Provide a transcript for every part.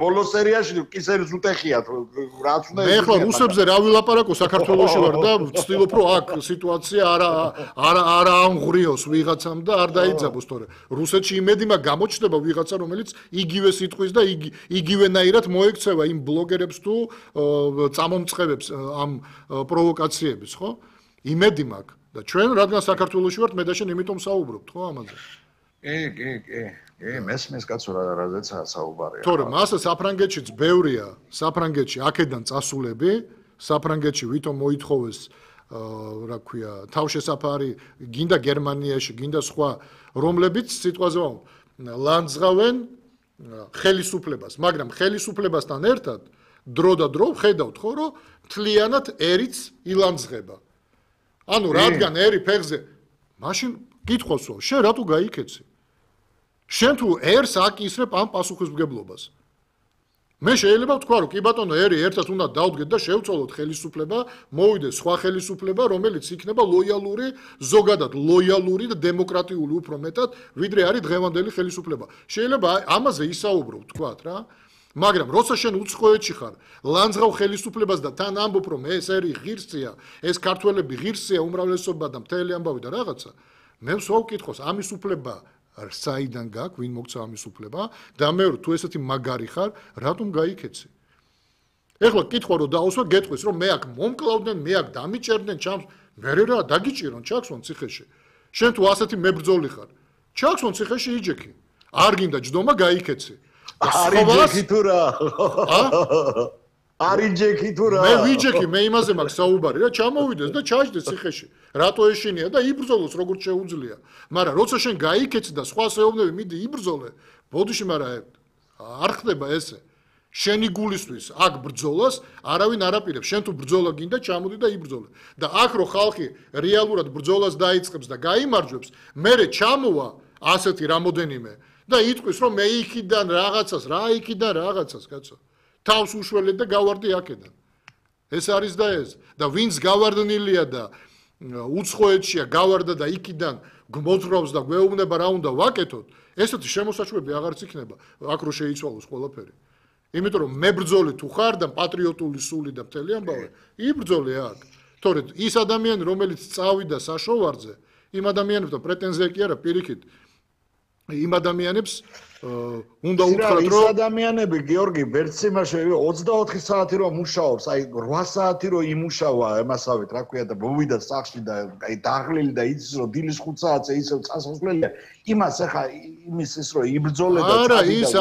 ბოლო სერიაში კისერის უტეხიათ რაც უნდა მე ახლა რუსებზე რა ვილაპარაკო საქართველოში ვარ და ვცდილობ რომ აქ სიტუაცია არა ამღვრიოს ვიღაცამ და არ დაიძაბოს თორე რუსეთში იმედი მაგ გამოჩნდება ვიღაცა რომელიც იგივე სიტყვის და იგივენაირად მოექცევა იმ ბლოგერებს თუ წამომწყებებს ამ პროვოკაციების ხო იმედი მაქვს და ჩვენ რადგან საქართველოში ვართ მე და შენ იმიტომ საუბრობთ ხო ამაზე კი მესმის კაცო რაზეცა საუბარია თორემ ასე საფრანგეთშიც ბევრია საფრანგეთში აქედან წასულები საფრანგეთში ვითომ მოითხოვეს რა ქვია თავშესაფარი გინდა გერმანიაში გინდა სხვა რომლებიც სიტყვაზე ლანძღავენ ხელისუფლებას მაგრამ ხელისუფლებასთან ერთად დრო და დრო ხედავთ ხო რომ მთლიანად ერიც ილანძღება ანუ რადგან ერი ფეხზე მაშინ კითხვას ვსვამ შენ რატო გაიქეცი შენ თუ ერს აკისრებ ამ პასუხისმგებლობას მე შეიძლება ვთქვა რომ კი ბატონო ერი ერთად უნდა დავდგეთ და შევცვალოთ ხელისუფლება მოვიდეს სხვა ხელისუფლება რომელიც იქნება ლოიალური ზოგადად ლოიალური და დემოკრატიული უფრო მეტად ვიდრე არის დღევანდელი ხელისუფლება შეიძლება ამაზე ისაუბრო ვთქვათ რა მაგრამ როცა შენ უცხოეთში ხარ ლანძღავ ხელისუფლებას და თან ამბობ რომ ეს ერი ღირსია ეს ქართველები ღირსია უმრავლესობა და მთელი ამბავი და რაღაცა მე ვსვავ კითხოს ამის უფლება საიდან გაქვს ვინ მოგცა ამის უფლება და მეორე თუ ესეთი მაგარი ხარ რატომ გაიქეცი ეხლა კითხვა რომ დაუსვა გეტყვის რომ მე აქ მომკლავდნენ მე აქ დამიჭერდნენ ჩამს მე რა დაგიჭირონ ჩაქსვან ციხეში შენ თუ ასეთი მებრძოლი ხარ ჩაქსვან ციხეში იჯექი არ გინდა ჯდომა გაიქეცი არიჯექი თუ რა არიჯექი თუ რა მე ვიჯექი მე იმაზე მაქვს საუბარი რა ჩამოვიდეს და ჩაჯდეს ციხეში რატო ეშინია და იბრძოლოს როგორც შეუძლია მაგრამ როცა შენ გაიქეცი და სხვა შეოვნები მიდი იბრძოლე ბოდიში მაგრამ არ ხდება ესე შენი გულისთვის აქ ბრძოლას არავინ არ აპირებს შენ თუ ბრძოლა გინდა ჩამოდი და იბრძოლე და აქ რო ხალხი რეალურად ბრძოლას დაიწყებს და გაიმარჯვებს მერე ჩამოვა ასეთი რამოდენიმე და იტყვის რომ მე იქიდან რაღაცას რა იქიდან რაღაცას კაცო თავს უშველეთ და გავარდი აქედან ეს არის და ეს და ვინც გავარდნილია და უცხოეთშია გავარდა და იქიდან გმოძრავს და გვეუბნება რა უნდა ვაკეთოთ ესეთი შემოსაჩუები აღარც იქნება აქ რო შეიცვალოს ყველაფერი იმიტომ რომ მებრძოლი თუ ხარ და პატრიოტული სული და მთელი ამბავი იბრძოლე აქ თორე ის ადამიანი რომელიც წავიდა საშოვარზე იმ ადამიანებთან პრეტენზია კი არა პირიქით იმ ადამიანებს უნდა უთხრათ რომ ის ადამიანები გიორგი ვერც იმაში 24 საათი რომ მუშაობს აი 8 საათი რომ იმუშავა ემასავით რა ქვია და მოვიდა სახში და აი დაღლილი და იცის რომ დილის 5 საათზე ისევ წასასვლელია იმას ახლა იმის ის რომ იბრძოლე და არა ის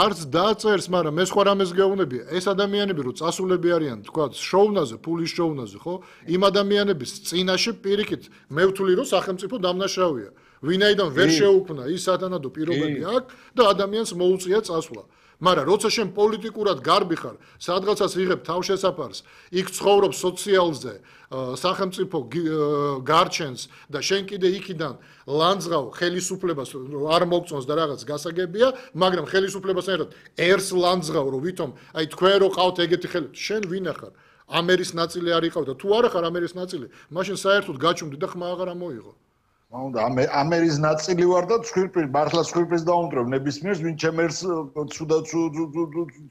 არც დაწერს მაგრამ მე სხვა რამეს გეუბნები ეს ადამიანები რომ წასულები არიან თქვა შოუნაზე ფულის შოუნაზე ხო იმ ადამიანების წინაშე პირიქით მე ვთვლი რომ სახელმწიფო დამნაშავეა ვინაიდან ვერ შეუქმნა ის სათანადო პირობები აქვს და ადამიანს მოუწია წასვლა. მაგრამ როცა შენ პოლიტიკურად გარბი ხარ, სადღაცას იღებ თავშესაფარს, იქ ცხოვრობ სოციალზე, სახელმწიფო გარჩენს და შენ კიდე იქიდან ლანძღავ ხელისუფლებას არ მოგწონს და რაღაც გასაგებია, მაგრამ ხელისუფლებასთან ერთად ერს ლანძღავ რომ ვითომ აი თქვენ რო ყავთ ეგეთი ხელი, შენ ვინ ახარ? ამერის ნაწილი არ იყავ და თუ არ ახარ ამერის ნაწილი, მაშინ საერთოდ გაჩუმდი და ხმა აღარ ამოიღო. უნდა ამერის ნაწილი ვარ და ცხვირპრის მართლა ცხვირპრის დაუმტვრევ ნებისმიერს ვინ ჩემერს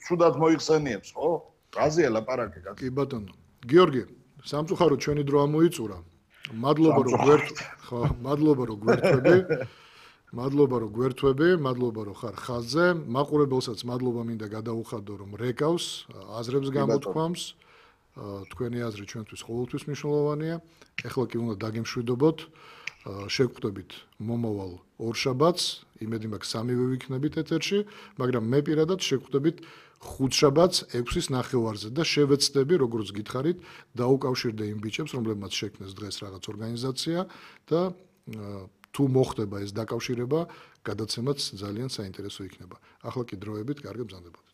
ცუდად მოიხსენიებს ხო? რაზეა ლაპარაკი კაცო? კი ბატონო. გიორგი, სამწუხაროდ ჩვენი დრო ამოიწურა. მადლობა რომ გვერთვები, მადლობა რომ ხარ ხაზზე. მაყურებელსაც მადლობა მინდა გადაუხადო რომ რეკავს, აზრებს გამოთქვამს. თქვენი აზრი ჩვენთვის ყოველთვის მნიშვნელოვანია. ეხლა კი უნდა დაგემშვიდობოთ. შეგხვდებით მომავალ ორშაბათს, იმედი მაქვს სამივე ვიქნებით ეთერში, მაგრამ მე პირადად შეგხვდებით ხუთშაბათს 6-ის ნახევარზე და შევეცდები, როგორც გითხარით, დაუკავშირდე იმ ბიჭებს, რომლებმაც შექმნეს დღეს რაღაც ორგანიზაცია და თუ მოხდება ეს დაკავშირება, გადაცემაც ძალიან საინტერესო იქნება. ახლა კი დროებით, კარგი ბრძანდებოდეთ.